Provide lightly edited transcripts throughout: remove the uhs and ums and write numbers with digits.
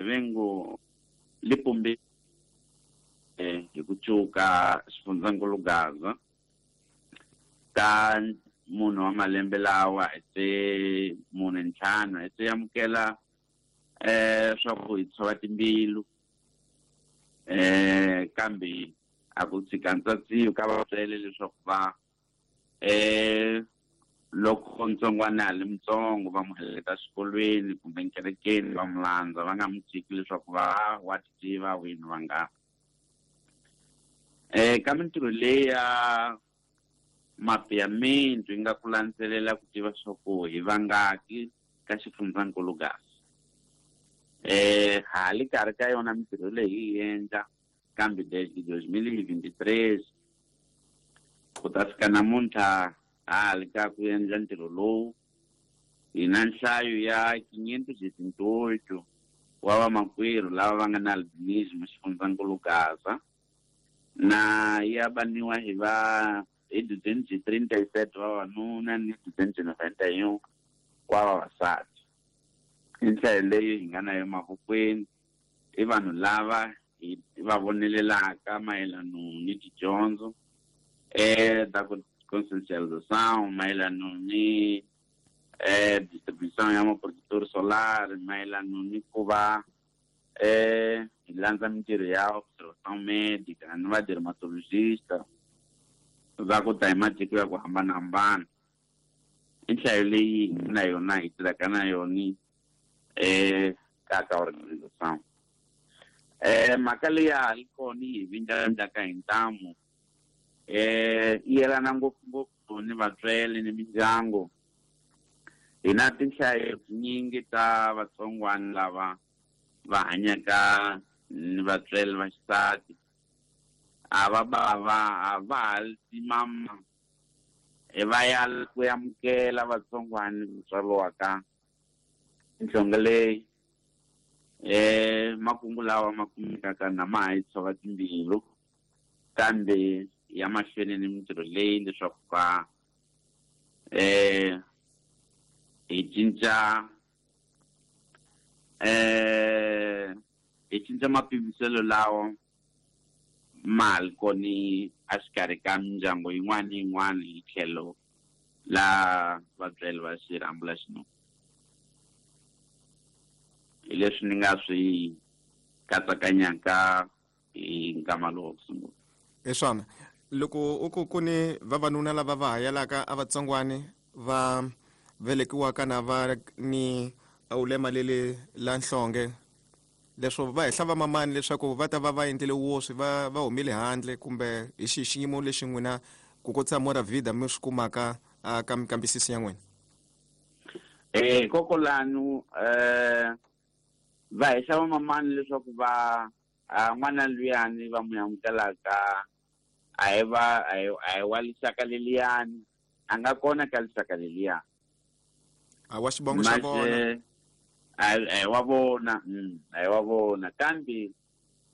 Rivengo li pumbi hi ku cuka xifundzankulu Gaza ka munhu wa malembe lawa hi se 45 hi se amukela swa ku hi tshova timbilu kambe a ku tshika ntsatsiyo ka vatswele leswaku va loko ntsongwana a li mutsongo va n'wi heleketa xikolweni kumbe nkerekeni va n'wi landza va nga n'wi tshiki leswaku va wa ti tiva wini va nga ka mintirho leyi ya mapeamento yi nga ku landzelela ku tiva swa ku hi vangaki ka xifundzankulu Gaza ha li karhi ka yona mintirho leyi yi endla kambe desde 2023 ku ta fika namuntlha ha li ka ku endla ntirho lowu hi na nhlayo ya 578 wa vamakwerhu lava va nga na albinism xifundzankulu Gaza na ya baniwa hi va hi 237 vavanuna ni 291 wa vavasati. I nhlayo leyi hi nga na yo mavokweni i vanhu lava hi va vonelelaka mayelano ni tidyondzo ta ku conscientização mayelano ni distribution ya maprojector solar mayelano ni ku va hi landza mintirho ya observação médica ni va dermatologista va ku ta hi matiko ya ku hambanahambana. I nhlayo leyi hi nga na yona hi tirhaka na yona ka organization. Mhaka leyi ya ha ri kona yi hi vindlavindlaka hi ntamu yi yelana ngopfungopfu ni vatswele ni mindyangu. Hi na tinhlayo tinyingi ta vatsongwana lava va hanyaka ni vatswele va xisati a va bava a va ha timama va ya ku amukela vatsongwana ku tswariwaka nhlonge leyi makungu lawa ma kumekaka na ma ha yi tshova timbilu kambe ya mahlweni ni mintirho leyi leswaku ka hi cinca hi cinca mapimiselo lawa ma li koni a xikarhi ka mindyangu yin'wana ni yin'wana hi tlhelo la vatswele va xirhambo la xinuna. Hi leswi ni nga swi katsakanyaka hi nkama lowu ku sungula. Hi swona loko u ku ku ni vavanuna lava va hayelaka a vatsongwani va velekiwaka na va ni ulema leli la nhlonge leswo va hehla vamamani leswaku va ta va va endlile woswi va va humile handle kumbe hi xihi xiyimo lexi n'wina ku kotisa Mora Vida mi swi kumaka ka minkambisiso ya n'wina? Kokolanu va hehla vamamani leswaku va n'wana luyani va n'wi amukelaka a hi va a hi wa lixaka leliyani a nga kona ka lixaka leliyani a wa xivongo xa vona a hi wa vona a hi wa vona kambe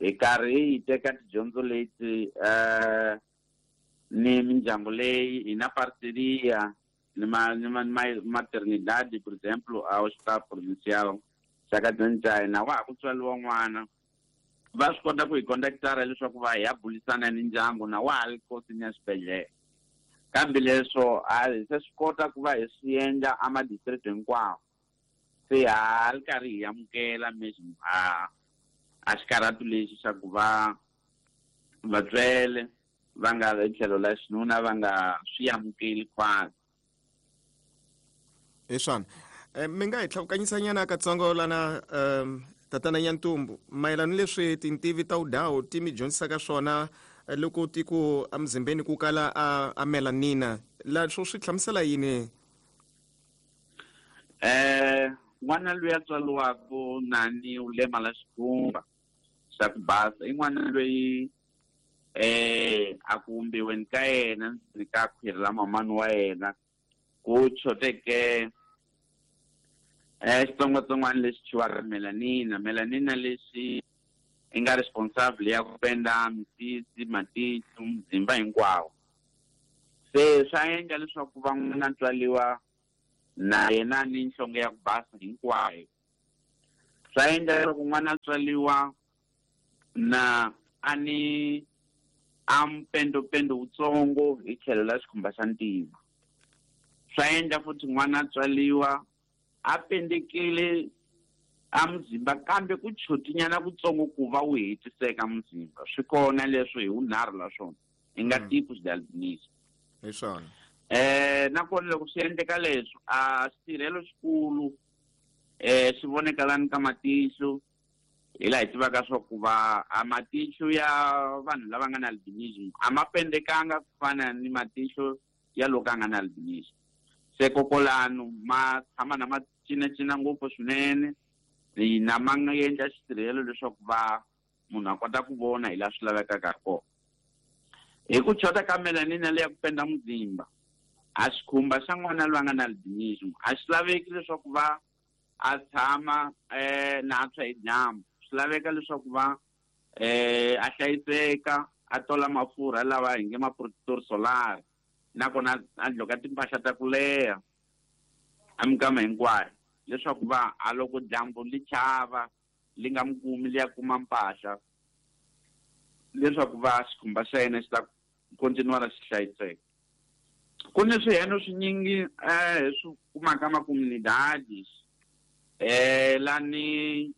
hi karhi hi teka tidyondzo leti ni mindyangu leyi hi na parceria ni ma ni ma maternidade por exemplo a hospital provincial xa ka Dzandzai na wa ha ku tswariwa n'wana va swi kota ku hi contactara leswaku va hi ya bulisana ni ndyangu na wa ha ri kosini ya xibedhlele kambe leswo a hi se swi kota ku va hi swi endla a ma-district hinkwawo se ha ri karhi hi amukela mesmo a xikarhatu lexi xa ku va vatswele va nga hi tlhelo la xinuna va nga swi amukeli khwatsi. Hi swona mi nga hi tlhavukanyisanyana katsongo lana tatana Nyantumbu mayelana ni leswi tintivi ta udawu ti mi dyondzisaka swona loko ti ku emuzimbeni ku kala a melanina la swo swi hlamusela yini? N'wana loyi a tswariwaka na ni ulema la xikhumba xa ku basa i n'wana loyi a ku vumbiweni ka yena ni ka khwiri la mamani wa yena ku choteke xitsongwatsongwana lexi thyiwaka melanina. Melanina lexi i nga responsible ya ku penda misisi matihlo muzimba hinkwawo se swa endla leswaku va n'wana tswaliwa na yena ni nhlonge ya ku basa hinkwayo. Swa endla leswaku n'wana a tswaliwa na a ni a mpendopendo wutsongo hi tlhelo la xikhumba xa ntima. Swa endla futhi n'wana a tswaliwa a pendekile a muzimba kambe ku chotinyana kutsongo ku va wu hetiseka muzimba. Swi kona leswo hi wunharhu la swona i nga tipos de albinism. Hi swona. Nakona loko swi endleka leswo a xitirhelo xikulu swi voneka lani ka matihlo, hi laha hi tivaka swa ku va a matihlo ya vanhu lava nga na albinism a ma pendekanga ku fana ni matihlo ya loko a nga na albinism. Se kokolano ma tshama na ma cinacina ngopfu swinene, na ma nga endla xitirhelo leswaku va munhu a kota ku vona hi laha swi lavekaka kona. Hi ku chota ka melanin leya ku penda muzimba, a xikhumba xa n'wana loyi a nga na albinism a xi laveki leswaku va a tshama na a tshwa hi dyambu. Swi laveka leswaku va a hlayiseka, a tola mafurha lawa hi nge ma protector solar, nakona a dloka timpahla ta ku leha a minkama hinkwayo leswaku va a loko dyambu li chava li nga mi kumi li ya kuma mpahla, leswaku va xikhumba xa yena xi ta continuara xi hlayiseka. Ku ni swiheno swinyingi hi swi kumaka makomunidades lani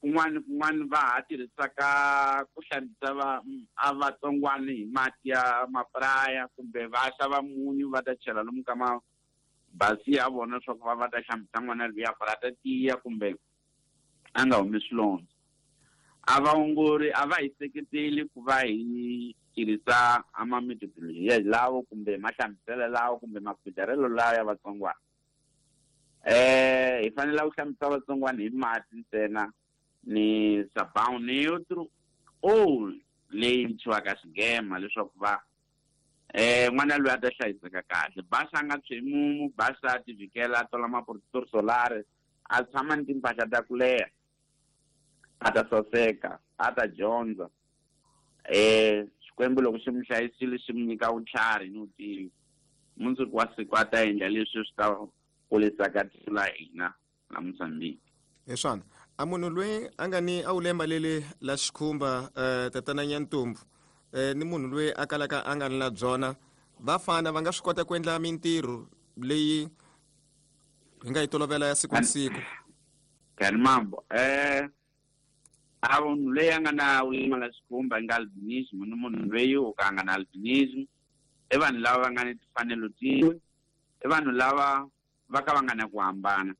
kun'wana kun'wana va ha tirhisaka ku hlambisa va a vatsongwana hi mati ya mapraya, kumbe va xava munyu va ta chela lomu ka mabasi ya vona leswaku va ta hlambisa n'wana luya ku ri a ta tiya kumbe a nga humi swilondza. A vaongori a va hi seketeli ku va hi tirhisa a ma methodology lawo kumbe mahlambiselo lawo kumbe makhudlarelo lawa ya vatsongwana. Hi fanele ku hlambisa vatsongwana hi mati ntsena ni sabão neutro ou leyi thyiwaka xigema leswaku va n'wana loyi a ta hlayiseka kahle. Basa a nga tshwi mumu, basa a ti vhikela, a tola ma-protector solar, a tshama ni timpahla ta ku leha, a ta saseka, a ta dyondza. Xikwembu loko xi mi hlayisile xi mi nyika vutlhari ni vutivi, mundzuku wa siku a ta endla leswi swi ta kurisaka tiko la hina la Mozambique. Hi swona. A munhu loyi a nga ni a wulemba leli la xikhumba tatana Nyantumbu ni munhu loyi a kalaka a nga ni la byona, va fana va nga swi kota ku endla mintirho leyi hi nga yi tolovela ya siku na siku? Kani mambo a munhu loyi a nga na wulema la xikhumba nga albinism ni munhu loyi o ka a nga na albinism i vanhu lava va nga ni timfanelo tin'we, i vanhu lava va ka va nga na ku hambana.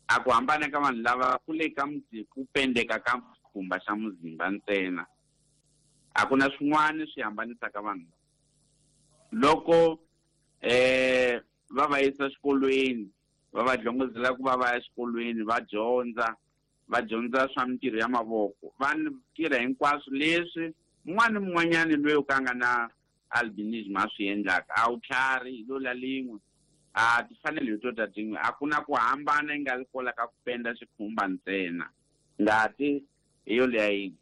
A ku hambana ka vanhu lava ku le ka ku pendeka ka xikhumba xa muzimba ntsena, a ku na swin'wana swi hambanisaka vanhu. Loko va va yisa xikolweni, va va dlongozela ku va va ya xikolweni, va dyondza, va dyondza swa mintirho ya mavoko, va tirha hinkwaswo leswi un'wana ni mun'wanyani loyi o ka a nga na albinism a swi endlaka. A wu tlhari hi lo la lin'we, a timfanelo hi to ta tin'we, a ku na ku hambana yi nga ri kola ka ku penda xikhumba ntsena, ngati hi yo leya yin'we.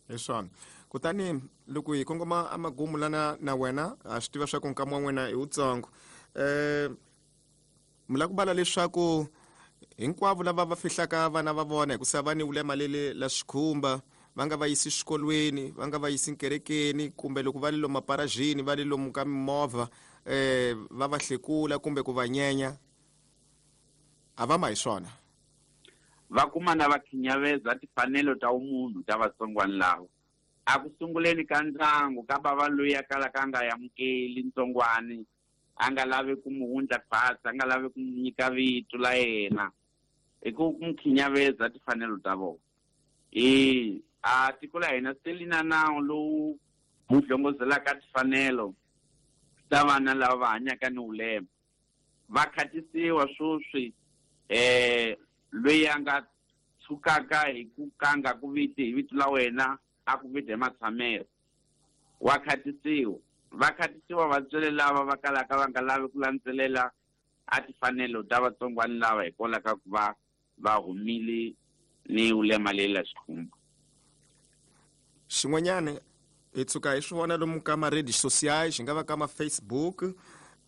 Hi swona. Kutani loko hi kongoma amagumu lana na wena, ha swi tiva swa ku nkama wa n'wina hi wutsongo. Mi lava ku vala leswaku hinkwavo lava va fihlaka vana va vona hikusa va ni wulema leli la xikhumba, va nga va yisi xikolweni, va nga va yisi nkerekeni, kumbe loko va le lomu maparajini, va le lomu ka mimovha, va va hlekula kumbe ku va nyenya, a va ma hi swona. Va kuma na va khinyaveza timfanelo ta vumunhu ta vatsongwana lava. A ku sunguleni ka ndyangu ka bava loyi a kalaka a nga amukeli ntsongwani, a nga lavi ku mu wundla khwatsi, a nga lavi ku mu nyika vito la yena, hi ku mu khinyaveza timfanelo ta vona. A tiko la hina se li na nawu lowu wu dlongozelaka timfanelo ta vana lava va hanyaka ni wulema. Va khatisiwa sweswi loyi a nga tshukaka hi ku kanga ku viti hi vito la wena, a ku viti hi matshamelo, wa khatisiwa. Va khatisiwa vatswari lava va kalaka va nga lavi ku landzelela a timfanelo ta vatsongwana lava hikwalaho ka ku va va humile ni wulema leyi la xikhumba. Xin'wanyana hi tshuka hi swi vona lomu ka ma-redes sociais, xi nga va ka ma-Facebook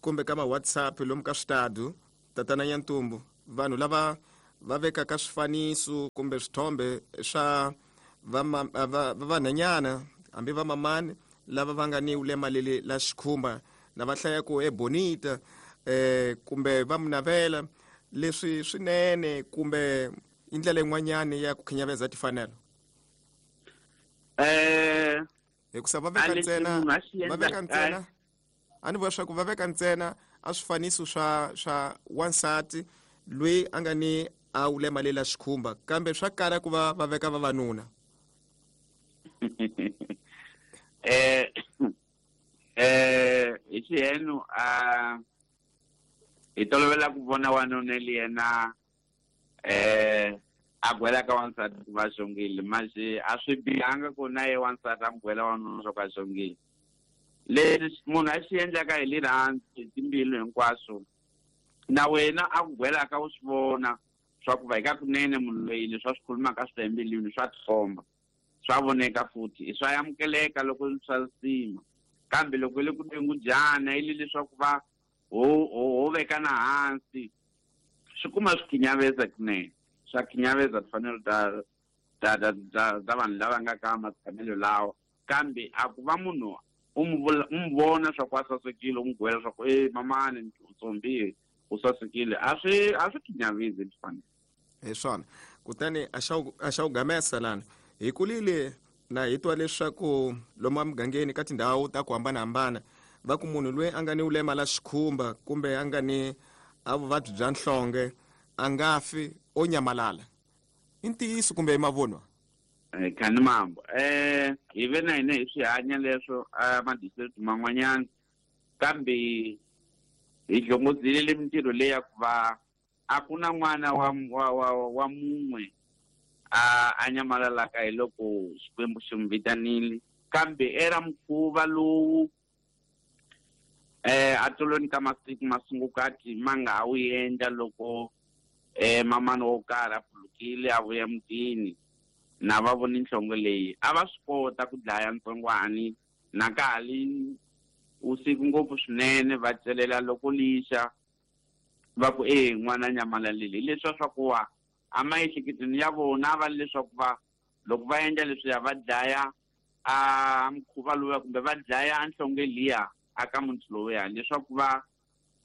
kumbe ka ma-WhatsApp, lomu ka switadu, tatana Nyantumbu, vanhu lava va vekaka swifaniso kumbe swithombe swa vanhanyana hambi vamamani lava va nga ni ulema leli la xikhumba na va hlaya ku e bonita kumbe va munavela leswi swinene kumbe i ndlela yin'wanyani ya ku khinyaveza timfanelo? Hikusa va veka ntsena, va veka ntsena, a ni vula swa ku va veka ntsena a swifaniso swa wansati loyi a nga ni a ulema lela xikhumba, kambe swa kala ku va va veka vavanuna. Hi xihenu a hi tolovela ku vona wanuna li yena a gwela ka wansati ku va xongile, masi a swi bihanga ku na ye wansati a n'wi gwela wanuna swa ku a xongile. Leswi munhu a swi endlaka hi rirhandzu hi timbilu hinkwaswo, na wena a ku gwelaka u swi vona swa ku va eka kunene munhu loyi leswi a swi khulumaka swi ta embilwini swa tikomba, swa voneka futhi i swa amukeleka loko swa sima. Kambe loko le ku dengudyana i le leswaku va ho vekana hansi, swi kuma swi khinyaveza kunene, swa khinyaveza timfanelo ta ta ta ta ta vanhu lava nga ka matshamelo lawa. Kambe a ku va munhu u n'wi vona swa ku a sasekile, u n'wi gwela swa ku e mamani u tsombi u sasekile, a swi khinyavezi timfanelo. Hi swona. Kutani a xa u gamesa lana hi kulile na hi twa leswaku lomu emugangeni ka tindhawu ta ku hambanahambana va ku munhu loyi a nga ni ulema la xikhumba kumbe a nga ni a vuvabyi bya nhlonge a nga fi, o nyamalala. I ntiyiso kumbe i mavunwa? Khani mambo. Hi ve na hina hi swi hanya leswo a ma-district man'wanyana, kambe hi hlongodzile le mintirho leyi ya ku va a ku na n'wana wa mun'we a nyamalalaka hi loko Xikwembu xi n'wi vitanile, kambe era mukhuva lowu a tolweni ka masiku masungukati ma nga ha wu endla loko mamani wo karhi a phulukile a vuya mutini na va voni nhlonge leyi, a va swi kota ku dlaya ntsongwani na ka ha li usiku ngopfu swinene, va celela loko lixa va ku e n'wana nyamalalile. Hi leswiya swa ku wa a maehleketweni ya vona va leswaku va loko va endla leswiya va dlaya a mukhuva lowuya kumbe va dlaya nhlonge liya aka muti lowuya, leswaku va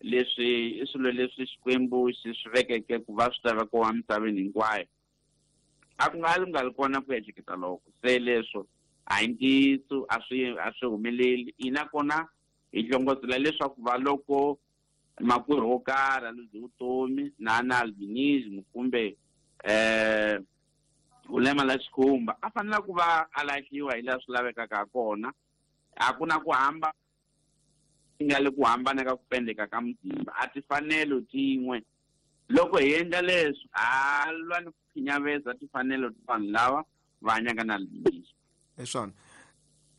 leswi i swilo leswi Xikwembu xi swi vekeke ku va swi ta vekiwa emisaveni hinkwayo. A ku nga li nga li kona ku ehleketa loko se leswo a hi ntiyiso, a swi humeleli. Hina kona hi hlongozela leswaku va loko makwerhu wo karhi a luze vutomi na na albinism kumbe ulema la xikhumba, a fanele ku va a lahliwa hi laha swi lavekaka ha kona. A ku na ku hamba nga le ku hambana ka ku pendeka ka muzimba, a timfanelo tin'we. Loko hi endla leswi ha lwa ni ku khinyaveza timfanelo ta vanhu lava va hanyaka na albinism. Hi swona.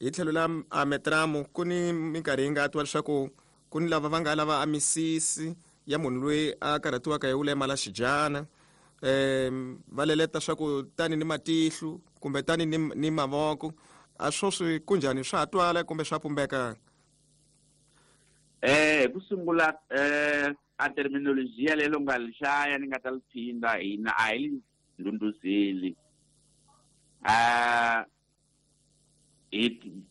Hi tlhelo la a metramu ku ni minkarhi yi nga twa leswaku ku ni lava va nga lava a misisi ya munhu loyi a karhatiwaka hi ulema la xidyana, va leleta swa ku tani ni matihlo kumbe tani ni mavoko. A swo swi kunjhani, swa ha twala kumbe swa pumbeka? Hi ku sungula a terminology ya lelo nga li hlaya ni nga ta li phinda, hina a hi li ndhundhuzeli.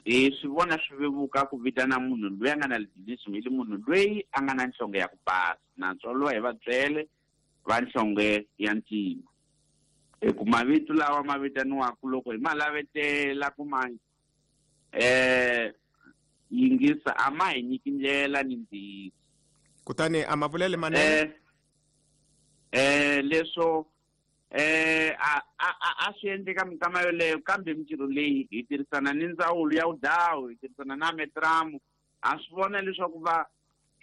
Hi swi vona swi vevuka ku vitana munhu loyi a nga na albinism hi li munhu loyi a nga na nhlonge ya ku basa, na lowa hi vatswele va nhlonge ya ntima. Hi ku mavito lawa ma vitaniwaka loko hi ma lavetela ku ma yingisa a ma hi nyiki ndlela ni ntiyiso. Kutani a ma vulele manene? Leswo a swi endleka minkama yoleyo, kambe mintirho leyi hi tirhisana ni ndzawulo ya vudawu, hi tirhisana na metramu, ha swi vona leswaku va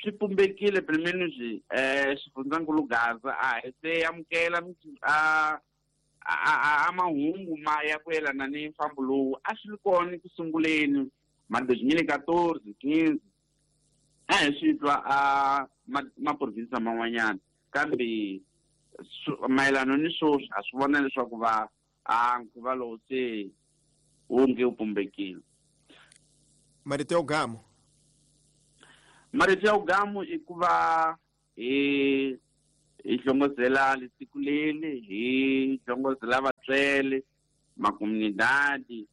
swi pumbekile pimeni swi xifundzankulu Gaza a hi se amukela a mahungu ma ya ku yelana ni mfambo lowu a swi ri kona ku sunguleni ma 2014 15 a hi swi twa a maprovinsi man'wanyana, kambe mayelana ni sweswi a swi vona leswaku va a nkhuva lowu se wu nge wu pumbekile. Marito ya ugamu? Marito ya ugamu i ku va hi Hi hlongozela lesiku leli, hi hlongozela vatswele, makomunidadi,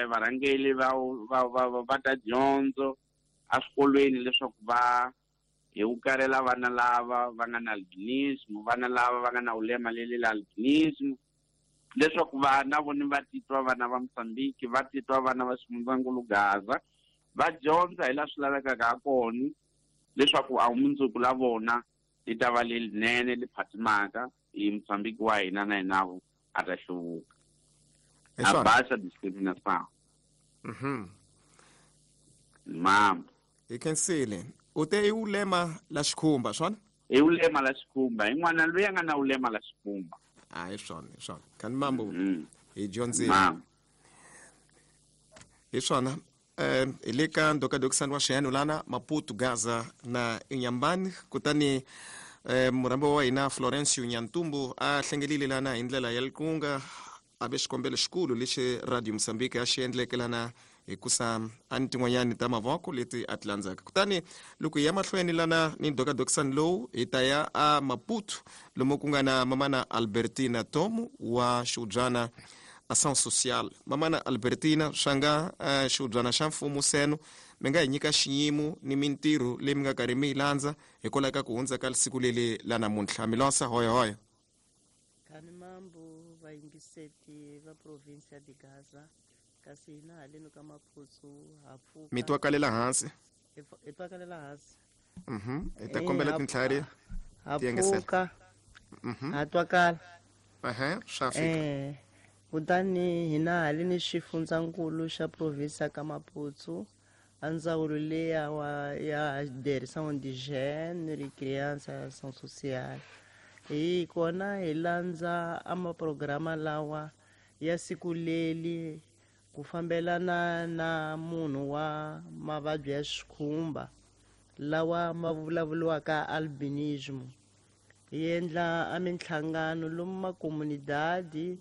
varhangeli va ta dyondzo eswikolweni leswaku va hi ukarela vana lava va nga na albinism, vana lava va nga na ulema leli la albinism, leswaku vana voni va titwa vana va Mozambique, va titwa vana va Ximundzankulu Gaza, va dyondza hi laha swi lavekaka ha kona leswaku a mundzuku la vona li ta va lelinene li phatimaka hi Mozambique wa hina na hina a ta hluvuka. A baixa discriminação. Mambo. Hi khensile. U te i ulema la xikhumba, swona? I ulema la xikhumba. I n'wana loyi a nga na ulema la xikhumba. A hi swona, hi swona. Khani mambo hi dyondzile. Hi swona. Hi le ka ndokadokisani wa xiyano lana Maputo, Gaza na Inhambane. Kutani murhambi wa hina Florencio Nhantumbo a hlengelile lana hi ndlela ya likunga, a ve xikombelo xikulu lexi Radio Mozambique a xi endleke lana hikusa a ni tin'wanyani ta mavoko leti a ti landzaka. Kutani loko hi ya mahlweni lana ni ndokadokisani lowu, hi ta ya a Maputo lomu ku nga na mamana Albertina Tomu wa xiubyana Ação Social. Mamana Albertina, swa nga xiubyana xa mfumo seno mi nga hi nyika xiyimo ni mintirho leyi mi nga karhi mi yi landza hikwalaho ka ku hundza ka siku leli la namuntlha. Milosa hoya hoya. Khani mambo vayingiseti va province ya de Gaza, kasi hina haleni ka Maputo ha pfuka. Mi twakalela hansi. Hi twakalela hansi. Hi ta kombela tintlhari ha pfuka. Ha twakala. Swa fika. Kutani hina haleni xifundzankulu xa province ka Maputo, a ndzawulo leya ya direction de jeunes, recreança, ação social. Hi kona hi landza a maprograma lawa ya siku leli ku fambelana na munhu wa mavabyi ya xikhumba lawa ma vulavuriwaka albinism. Hi endla a minhlangano lomu makomunidadi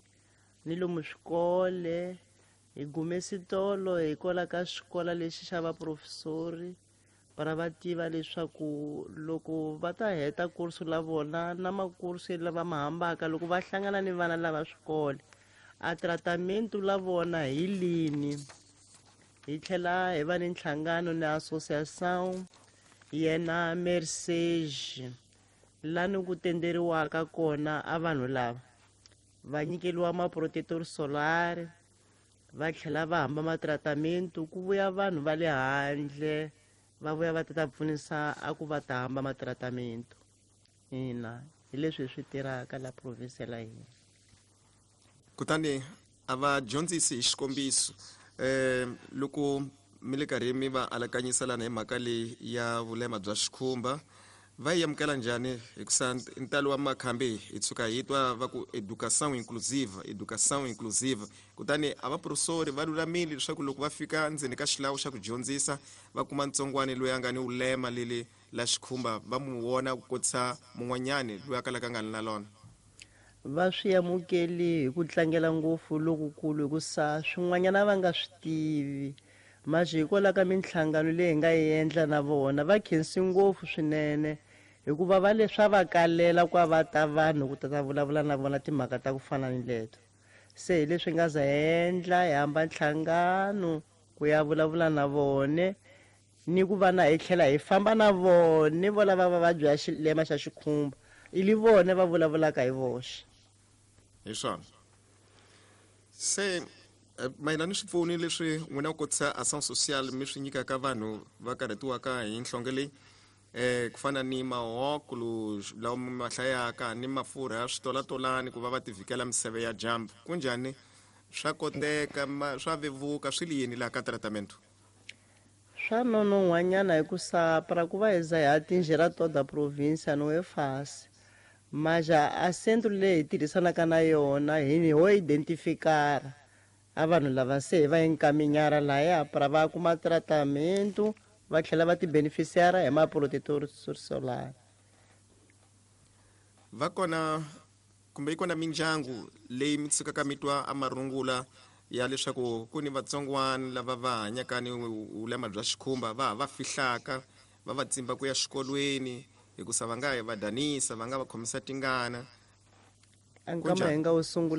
ni lomu swikole. Hi gume switolo hikwalaho ka xikola lexi xa vaprofesori para va tiva leswaku loko va ta heta kursu la vona na makursu lava ma hambaka loko va hlangana ni vana lava swikole a tratamento la vona hi lini. Hi tlhela hi va ni nhlangano ni association yena Mercedes lani ku tenderiwaka kona a vanhu lava va nyikeriwa ma-protector solar, va tlhela va hamba ma-tratamento ku vuya vanhu va le handle va vuya va ta pfunisa a ku va ta hamba ma-tratamento. Ina hi leswi hi swi tirhaka la province la hina. Kutani a va dyondzisi hi xikombiso loko mi le karhi mi va alakanyisa lana hi mhaka leyi ya vulema bya xikhumba, va yi amukela njhani? Hikusa ntalo wa makhambi hi tshuka hi twa va ku educação inclusiva, educação inclusiva. Kutani a vaprofesori va lulamile leswaku loko va fika ndzeni ka xilawu xa ku dyondzisa va kuma ntsongwani loyi a nga ni ulema leli la xikhumba, va mu vona ku kotisa mun'wanyani loyi a kalaka a nga ni na lona. Va swi amukeli hi ku tlangela ngopfu lokukulu, hikusa swin'wanyana va nga swi tivi. Manje hikwalaho ka minhlangano leyi hi nga yi endla na vona va khensi ngopfu swinene, hikuva va leswa va kalela ku va ta vanhu ku ta ta vulavula na vona timhaka ta ku fana ni leto. Se hi leswi nga za endla hi hamba nhlangano ku ya vulavula na vone, ni ku va na hi tlhela hi famba na vone vo lava va vabya ya xilema xa xikhumba, i li vone va vulavulaka hi voxe. Hi swona. Se mayelana ni swipfuni leswi n'wina ku kotisa ação social mi swi nyikaka vanhu va karhatiwaka hi nhlonge leyi, ku fana ni mahokulu lawa mi ma hlayaka ni mafurha ya switolatolani ku va va tivikela miseve ya dyambu, kunjhani swa koteka, swa vevuka, swi li yini laha ka tratamento? Swa nonon'hwanyana hikusa para ku va hi za hi atingir toda província não é fácil. Mas a centro leyi hi tirhisanaka na yona hi ho identificar a vanhu lava se hi va encaminhar lahaya para va kuma tratamento va tlhela va ti beneficiar hi ma-protector solar. Va kona kumbe yi kona mindyangu leyi mi tshukaka mi twa a marungula ya leswaku ku ni vatsongwana lava va hanyaka ni vulema bya xikhumba, va ha va fihlaka, va va tsimba ku ya xikolweni, Hikusa va nga va danisa, va nga va khomisa tingana. A nkama hi nga wu sungula.